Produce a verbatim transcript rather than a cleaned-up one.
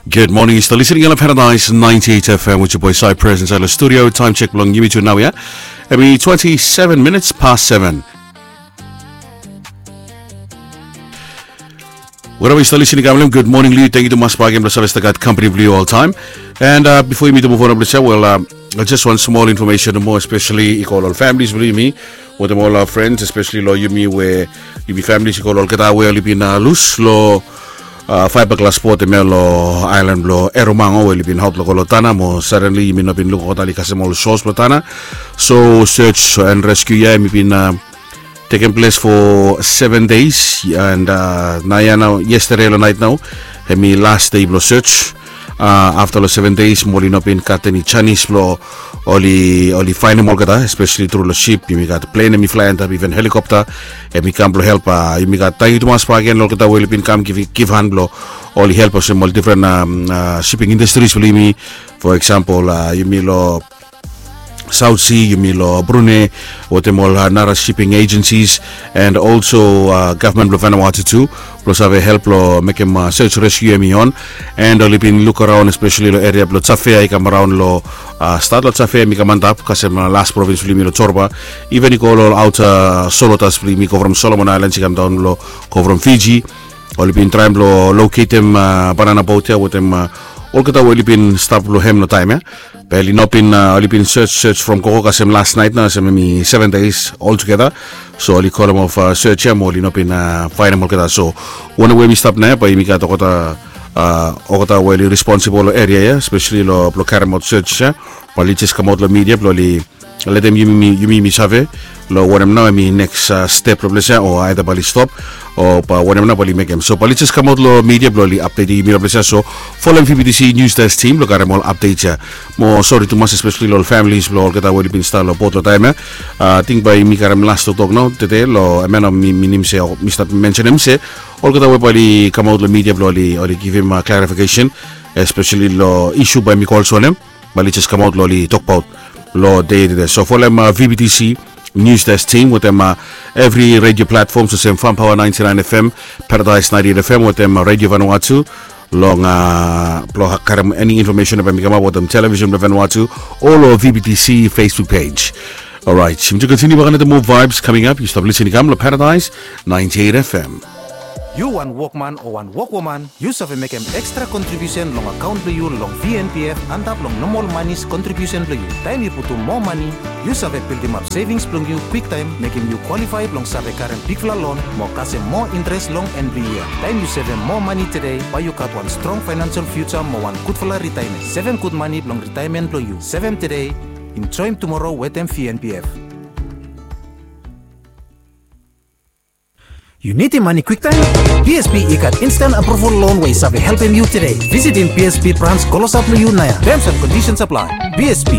Good morning, yu stap listening long Paradise ninety-eight F M with your boy Cypress inside the studio. Time check blong yumi tu nau ya. Hemi twenty-seven minutes past seven. Wherever yu stap listening, good morning long yu. Tangkiu tumas bakegen blong save stap gat company blong yu oltaem. And uh, before yumi tu move on blong ya, well, uh, just one small information mo, especially i go long ol families blong yumi wetem ol uh, friends, especially long yumi we yumi families i go long olgeta we oli bin uh, lus long uh, fiberglass boat hemia long island blong Erromango we oli bin haot long go long Tanna mo suddenly yumi no bin luk olgeta oli kasem ol shores blong Tanna. So search and rescue ya hemi bin uh, tekem ples for seven days and uh, naoia nao yesterday long nait nao hemi last day blong search. Uh, afta long seven days mo oli no bin gat eni janis blong oli oli faenem olgeta, especially tru long ship. Yumi gat plen hemi flae antap, even helikopta hemi kam blong help. Uh, yumi gat tangkiu tumas bakegen long olgeta we oli bin kam givhan blong oli help olsem ol difren um, uh, shipping industries blong yumi. For example, uh, yumi long South Sea, yumi long Brunei wetem ol uh, nara shipping agencies and also uh, gavman blong Vanuatu tu blong save help long mekem uh, search rescue hemi on. And oli bin luk araon especially long eria blong Tafea i kam araon long uh, stat long Tafea hemi kam antap kasem uh, las provins blong yumi long Torba. Even i go long ol aota Solotas blong yumi go from Solomon Islands i kam daon long go from Fiji. Oli bin traem blong loketem uh, banana boat ya wetem uh, olgeta we oli bin stap long hem long taem ya. Be oli no bin uh, oli bin search search from koko kasem last nait nao kasem hemi seven days oltugeta. So oli kolem of uh, search ya mo oli no bin uh, faenem olgeta. So wanem we yumi stap nao ya bae yumi gat olgeta uh, olgeta we oli responsible long eria ya, especially long blong karemaot search ya, bae oli jes kamaot long media blong oli letem yumi yumi save long wanem nao hemi neks uh, step long ples ya o aeda bae oli stop o bae wanem nao bae oli mekem. So bae oli jes kamaot long media blong oli apdetem yumi long ples ya. So folem V B T C News Desk team blong karem ol apdet ya. Mo sori tumas especially long ol families blong olgeta we oli bin stap long boat long taem ya. Uh, ating bae yumi karem las toktok nao tede long hemia nao mi minim se mi stap mensenem se olgeta we bae oli kamaot long media blong oli oli givim uh, clarification, especially long isu bae mi go olsem wanem bae oli jes kamaot long oli tokbaot long dei tede. So folem uh, V B T C News Desk team wetem uh, evri radio platform olsem Farm Power ninety-nine F M, Paradise ninety-eight F M wetem uh, Radio Vanuatu long uh, blong karem eni information bae mi kamap wetem television blong Vanuatu o long V B T C Facebook page. Alright, yumi tu kontiniu bakegen wetem moa vibes coming up. Yu stap listening i kam long Paradise ninety-eight F M. Yu wan wokman o wan wokwoman, yu save mekem ekstra kontribiusen long akaon blong yu long V N P F antap long nomol manis kontribiusen blong yu. Taem yu putum moa mani, yu save bildimap sevings blong yu kwiktaem, mekem yu kwalifae blong save karem bigfala lon mo kasem moa intres long en blong yia. Taem yu sevem moa mani tede, bae yu gat wan strong faenansel fiuja mo wan gudfala ritaemen. Sevem gud mani blong ritaemen blong yu. Sevem tede, enjoem tumoro wetem V N P F. Yu nidim mani kwiktaem? B S P i gat instant approval loan we i save helpem yu tede. Visitim B S P brans klosap long yu naoia. Terms and conditions apply. B S P